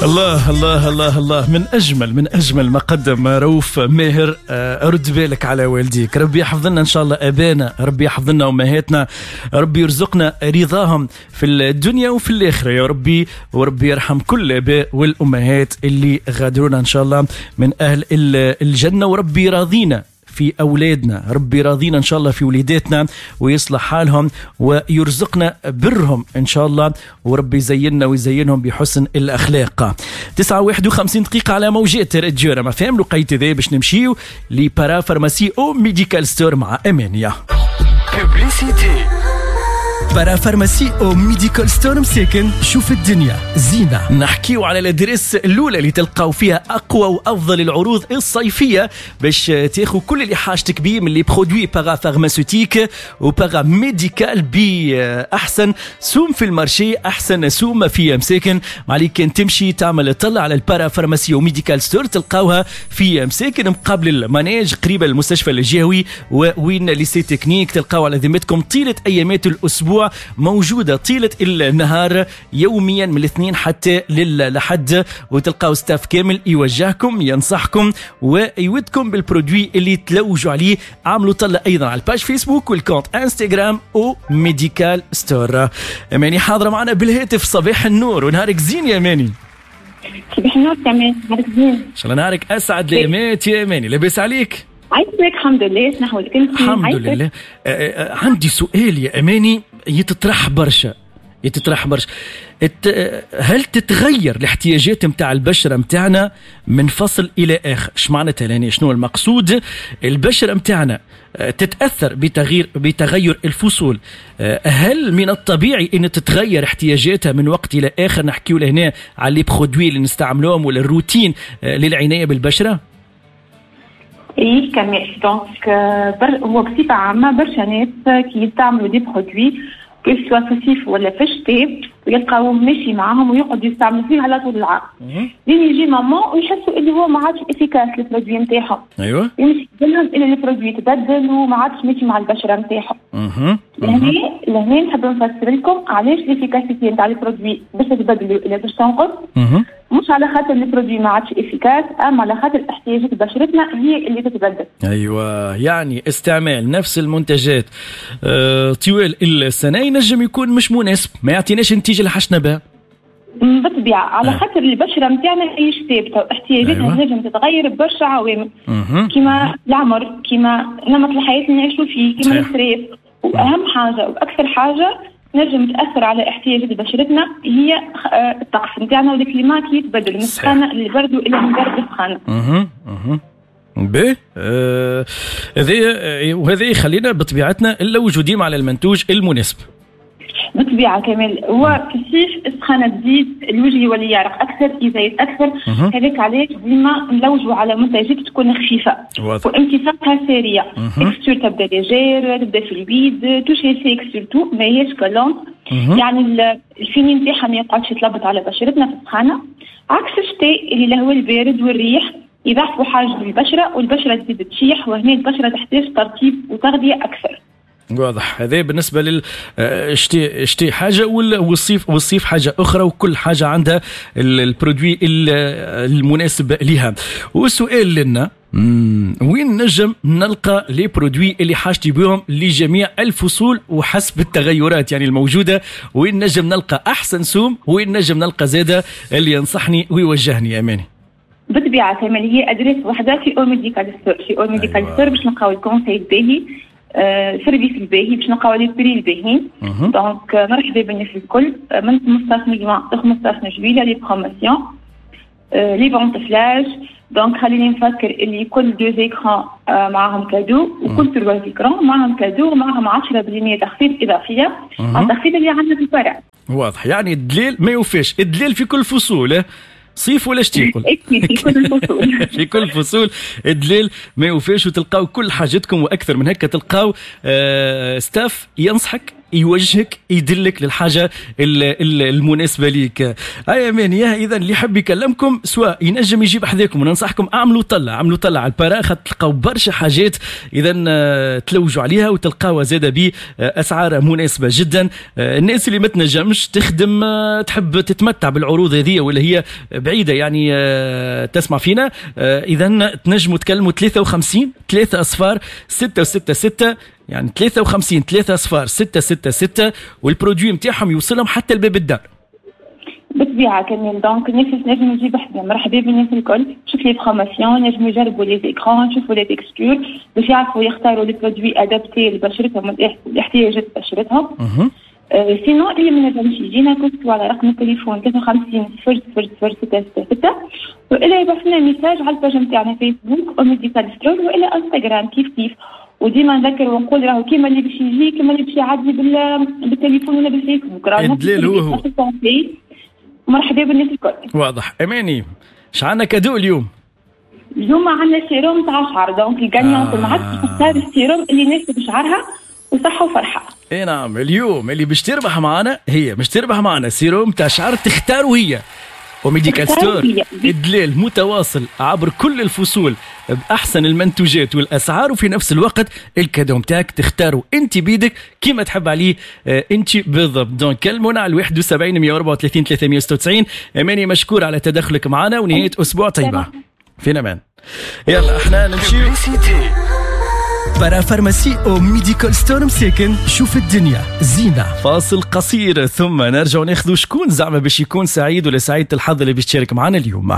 الله الله الله الله، من اجمل ما قدم رؤوف ماهر. رد بالك على والديك، ربي يحفظ لنا ان شاء الله ابانا، ربي يحفظ لنا امهاتنا، ربي يرزقنا رضاهم في الدنيا وفي الاخرة يا ربي، وربي يرحم كل الاباء والامهات اللي غادرونا ان شاء الله من اهل الجنه، وربي راضينا في أولادنا، ربي راضينا إن شاء الله في وليداتنا ويصلح حالهم ويرزقنا برهم إن شاء الله، وربي يزيننا ويزينهم بحسن الأخلاق. 9 51 دقيقة على موجات راديو رما فام. الوقيت ذا باش نمشيو ل parapharmacie او Medical Store مع أمانيا. Publicité. parapharmacie او Medical Store مساكن، شوف الدنيا زينة. نحكيو على l'adresse الأولى اللي تلقاو فيها أقوى وأفضل العروض الصيفية باش تاخذ كل اللي حاجتك بيه من les produits parapharmaceutiques و paramédical بأحسن سوم في ال marché، أحسن سوم في مساكن. ما عليك كان تمشي تعمل طلة على ال parapharmacie و Medical Store، تلقاوها في مساكن مقابل ال manège، قريبة المستشفى الجهوي وين lycée technique. تلقاو على ذمتكم طيلة أيامات الأسبوع، موجودة طيلة النهار يوميا من الاثنين حتى للحد، وتلقاو staff كامل يوجهكم، ينصحكم ويودكم بال produit اللي تلوجوا عليه. عملوا طلة ايضا على ال page فيسبوك وال compte انستغرام او Medical Store. اماني حاضرة معنا بالهاتف، صباح النور ونهارك زين يا اماني. صباح النور كمان، نهارك زين. ان شاء الله نهارك اسعد الايامات يا اماني، لاباس عليك؟ عايشك، الحمد لله، شنو احوالك انت؟ الحمد عايشك. لله. عندي سؤال يا اماني يتطرح برشا، يتطرح برشا. هل تتغير الاحتياجات متاع البشرة متاعنا من فصل الى اخر؟ ايش معناتها يعني؟ شنو المقصود؟ البشرة متاعنا تتاثر بتغير الفصول. هل من الطبيعي ان تتغير احتياجاتها من وقت الى اخر؟ نحكيو لهنا على les produits اللي نستعملوهم ولا الروتين للعنايه بالبشره. اي كمال، donc هو بصفة عامة برشا ناس كي يستعملوا des produits، que ce soit في الصيف ولا في الشتاء، ويلقاوه ماشي معاهم ويقعدوا يستعملوا فيه على طول العام، لين يجي moment ويحسوا اللي هو ما عادش efficace ال produit نتاعهم. يمشي لهم ان ال produit تبدل وما عادش ماشي مع البشرة نتاعهم. لهنا نحب نفسر لكم علاش l'efficacité نتاع ال produit باش تتبدل ولا باش تنقص. مش على خاطر ال produit ما عادش efficace، اما على خاطر احتياجات بشرتنا هي اللي تتبدل. ايوه، يعني استعمال نفس المنتجات طوال السنة ينجم يكون مش مناسب، ما يعطيناش النتيجة اللي حشنا بها. بالطبيعه، على خاطر البشرة نتاعنا ماهيش ثابتة واحتياجاتها تنجم تتغير ببرشا عوامل، كيما العمر، كيما نمط الحياة اللي نعيشوا فيه، كيما ال stress. واهم حاجة واكثر حاجة نجم تاثر على احتياجات بشرتنا هي الطقس نتاعنا وال climat كي يتبدل من السخانه للبرد والى من برد للسخانه. اها اها باهي، هذا وهذا يخلينا بطبيعتنا نلوجوا ديما على المنتوج المناسب. بالطبيعة كمال، هو في الصيف السخانه تزيد، الوجه يولي يعرق اكثر، يزيد اكثر. هذاك علاش ديما نلوجوا على منتجات تكون خفيفة وامتصاصها سريع، texture تبدا légère، تبدا fluide، toucher sec surtout، ماهيش collante. يعني ال fini نتاعها ما يقعدش يتلبط على بشرتنا في السخانه، عكس الشتاء اللي الهواء البارد والريح يضعفوا حاجة البشرة والبشره تزيد تشيح، وهنا البشرة تحتاج ترطيب وتغذية اكثر. واضح. هذا بالنسبة للشتاء، الشتاء حاجة والصيف حاجة اخرى، وكل حاجة عندها ال produit المناسب لها. والسؤال لنا، وين نجم نلقى les produits اللي حاجتي بهم لجميع الفصول وحسب التغيرات يعني الموجوده؟ وين نجم نلقى احسن سوم؟ وين نجم نلقى زاده اللي ينصحني ويوجهني يا اماني؟ بالطبيعة كمال، هي adresse واحده، في او Medical Store. في او Medical Store باش نلقاو ال conseil الباهي، service الباهي، باش نلقاو les prix الباهيين. donc مرحبا بالناس الكل، من 15 جوان ل 15 جويلية les promotions، les ventes flash. donc خليني نفكر اللي كل deux écrans معاهم cadeau، وكل trois écrans معاهم cadeau، ومعاهم 10% تخفيض اضافية على التخفيض اللي عندنا في الفرع. واضح، يعني الدليل ما يوفيش، الدليل في كل فصول، صيف ولا شتي. في كل الفصول. في كل الفصول الدليل ما يوفيش، وتلقاو كل حاجتكم واكثر من هكا، تلقاو staff ينصحك. يوجهك يدلك للحاجة المناسبة ليك. هيا أماني، اذا اللي يحب يكلمكم سواء ينجم يجيب حذاكم، وننصحكم اعملوا طلة، عملوا طلة على ال para، خاطر تلقاو برشا حاجات اذا تلوجوا عليها وتلقاوها زاده باسعار مناسبة جدا. الناس اللي ما تنجمش تخدم، تحب تتمتع بالعروض هذه ولا هي بعيدة يعني تسمع فينا، اذا تنجموا تكلموا 53 3 اصفار 6 6 6، يعني 53 3 اصفار 6 6 6، وال produit نتاعهم يوصلهم حتى لباب الدار. بالطبيعة كمان، donc الناس نجم يجيب حدا، مرحبا بالناس الكل، شوف les promotions، نجم يجربوا les écrans، يشوفوا les textures باش يعرفوا يختاروا les produits adaptés لبشرتهم ولاحتياجات بشرتهم. sinon اللي ما نجمش يجينا، كنتوا على رقم التليفون 53 0 0 0 6 6 6، والا يبعث لنا message على ال page نتاعنا فيسبوك او Medical Store والا انستغرام كيف كيف. وديما نذكر ونقول راهو كيما اللي باش يجي كيما اللي باش يعدي بالتليفون ولا بالفيسبوك، راهو الدليل هو هو. مرحبا بالناس الكل. واضح. اماني، اش عندنا cadeau اليوم؟ اليوم عندنا سيروم تاع شعر، donc ال gagnante معك تختار السيروم اللي يناسب شعرها، وصحة وفرحة. اي نعم، اليوم اللي باش تربح معنا هي باش تربح معنا سيروم تاع شعر تختاروا هي. و Medical Store الدليل متواصل عبر كل الفصول باحسن المنتوجات والاسعار، وفي نفس الوقت ال cadeau نتاعك تختاروا انت بيدك كيما تحب عليه انت بالضبط. donc كلمونا على 71 134 396. اماني، مشكور على تدخلك معنا ونهاية اسبوع طيبه. في امان. يلا احنا نمشي. parapharmacie او Medical Store مساكن، شوف الدنيا زينة. فاصل قصير ثم نرجع ناخذ شكون زعما باش يكون سعيد ولا سعيدة الحظ اللي باش تشارك معنا اليوم.